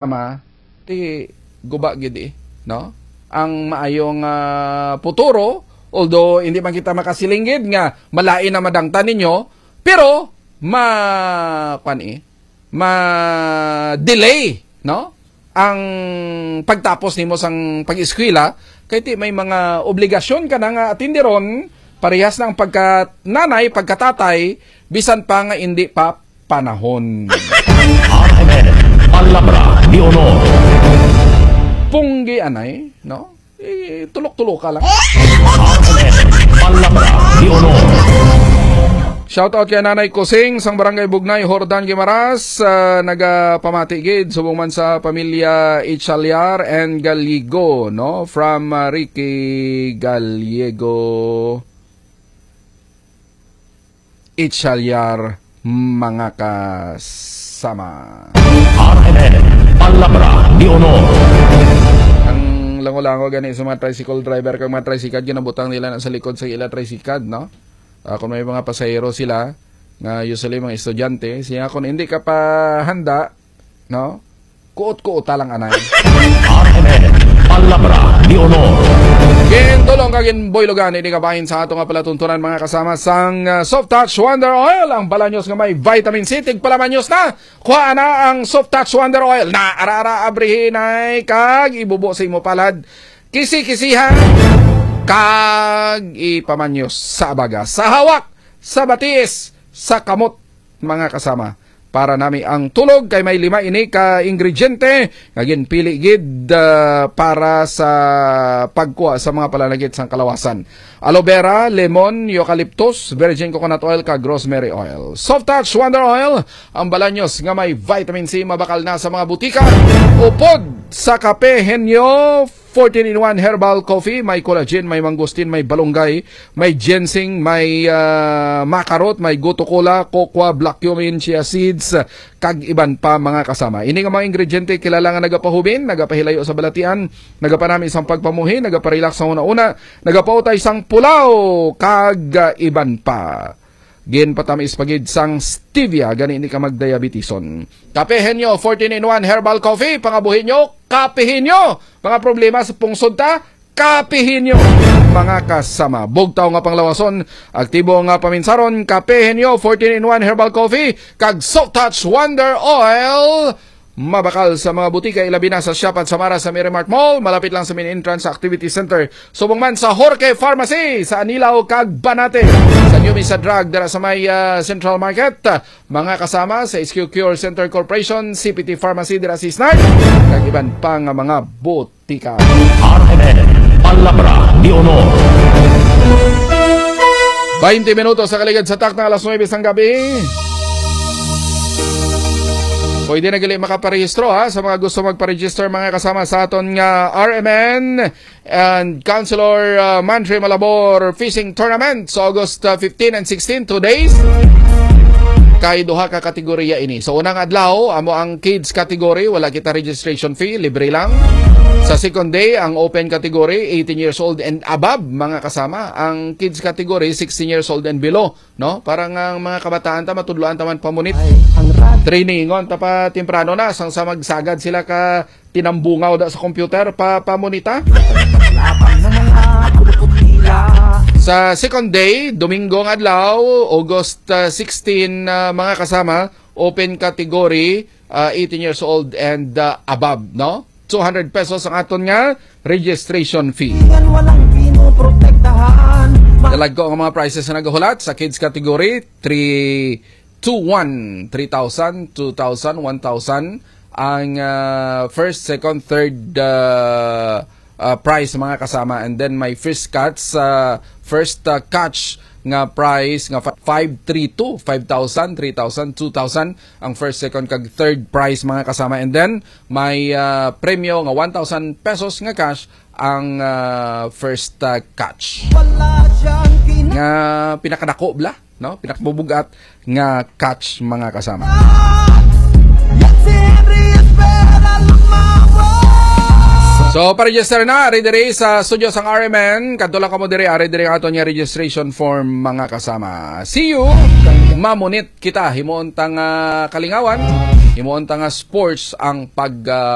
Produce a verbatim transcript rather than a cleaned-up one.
Tama, ti guba gid eh, no? Ang maayong ah, puturo, although hindi man kita makasilinggid nga malain na madangtan ninyo, pero ma kwan eh, ma delay, no? Ang pagtapos nimo sang pag-eskwela kay ti may mga obligasyon ka na nga atindiron, parehas na ang pagka nanay, pagkatatay, bisan pa nga hindi pa panahon. R M N, Palabra de Honor. Punggi anay, no? Eh, tulok-tuloka lang. R M N, Palabra de Honor. Shout out kay Nanay Kusing sang Barangay Bugnay, Jordan Guimaras, ah, nagapamati gid subong man sa pamilya Ichalyar and Galigo, no? From ah, Ricky Gallego. Ichalyar, mga kasama. R M N, Palabra de Honor. Ang lango-lango gani sa mga tricycle driver kag mga tricycad, ginabutang nila na sa likod sa ila tricycad, no? Ah, kung may mga pasahero sila, nga usually mga estudyante, siya kung hindi ka pa handa, no? Kuot-kuota lang anay. R M N, Palabra de Honor. Gintulong kag ginboylogan ini kabahin sa ato nga palatuntunan, mga kasama, sang ah, Soft Touch Wonder Oil, ang balanyos nga may vitamin C. Tigpalamanyos na. Kuha na ang Soft Touch Wonder Oil. Na ara-ara abrihinay kag ibubo sa imo palad. Kisi-kisihan kag ipamanyos sa abaga, sa hawak, sa batiis, sa kamot, mga kasama. Para nami ang tulog kay may lima ini ka ingrediente nga ginpili gid ah, para sa pagkuha sa mga palanagit sang kalawasan. Aloe vera, lemon, eucalyptus, virgin coconut oil kag rosemary oil. Soft Touch Wonder Oil, ang balanyos nga may vitamin C, mabakal na sa mga butika. Upod sa kape, Henyo, fourteen-in-one Herbal Coffee, may collagen, may mangosteen, may balunggay, may ginseng, may ah, makarot, may gotu kola, kokwa, black cumin, chia seeds, kag iban pa, mga kasama. Ini nga mga ingrediente kilala nga nagapahubin, nagapahilayo sa balatian, nagapanami sang pagpamuhi, nagaparelax sa una-una, nagapautay sang pulaw, kag ah, iban pa. Ginpatamis pa gid sang stevia, gani hindi ka magdiabetison. Kape Henyo fourteen-in-one Herbal Coffee, pangabuhi nyo, kapihin nyo. Mga problema sa pungsod ta, kapihin nyo. Mga kasama, bugtaw nga panglawason, aktibo nga paminsaron, Kape Henyo fourteen-in-one Herbal Coffee, kag Soft Touch Wonder Oil. Mabakal sa mga butika, ilabi na sa Shop at Samara sa Merrimart Mall, malapit lang sa main entrance sa Activity Center. Subong man sa Jorge Pharmacy sa Anilao kag Banate, sa New Mesa Drug dira sa may ah, Central Market, mga kasama sa S Q Cure Center Corporation, C P T Pharmacy dira sa Isnar, kag iban pa nga mga butika. R M N, Palabra de Honor. Twenty minutos sa kaligad sa takna alas nuebe sang gabi. Pwede na gali makaparehistro, ha, sa mga gusto magpa-register, mga kasama, sa aton nga R M N and Councilor uh, Mantre Malabor Fishing Tournament sa August uh, fifteen and sixteen, two days. Kay duha ka kategorya ini. So, unang adlaw, amo ang kids category, wala kita registration fee, libre lang. Sa second day, ang open category, eighteen years old and above, mga kasama. Ang kids category, sixteen years old and below, no? Para nga ang mga kabataan ta, matudloan ta man pamunit. Ay, ang rad- Trainingon ta pa temprano na, sang sa magsagad sila ka tinambungaw da sa computer, pa pamunita. Laban ng mga pulupot nila. Sa second day, Domingo nga adlaw, August uh, sixteen, uh, mga kasama, open category, uh, eighteen years old and uh, above, no? Two hundred pesos ang aton nga registration fee. Yan walang pinoprotektahan. Ma- Dalagko ang mga prices na nagahulat sa kids category, three two one, three thousand, two thousand, one thousand. Ang uh, first, second, third uh, uh, prize, mga kasama. And then may first catch, uh, first uh, catch nga prize nga fa- five three two, five thousand, three thousand, two thousand ang first, second, kag third prize, mga kasama. And then may uh, premyo nga one thousand pesos nga cash ang uh, first uh, catch. Wala siyang kina- Nga pinakadako bla, no? Pinakabubugat nga catch, mga kasama. Yan si Henry Espera lumawan. So, pa-register na, ari diri sa studio sang R M N. Kadto lang kamo diri, ari diri ang aton nga registration form, mga kasama. See you. Mamunit kita, himuon tang ah, kalingawan. Imo unta nga sports ang pag, ah,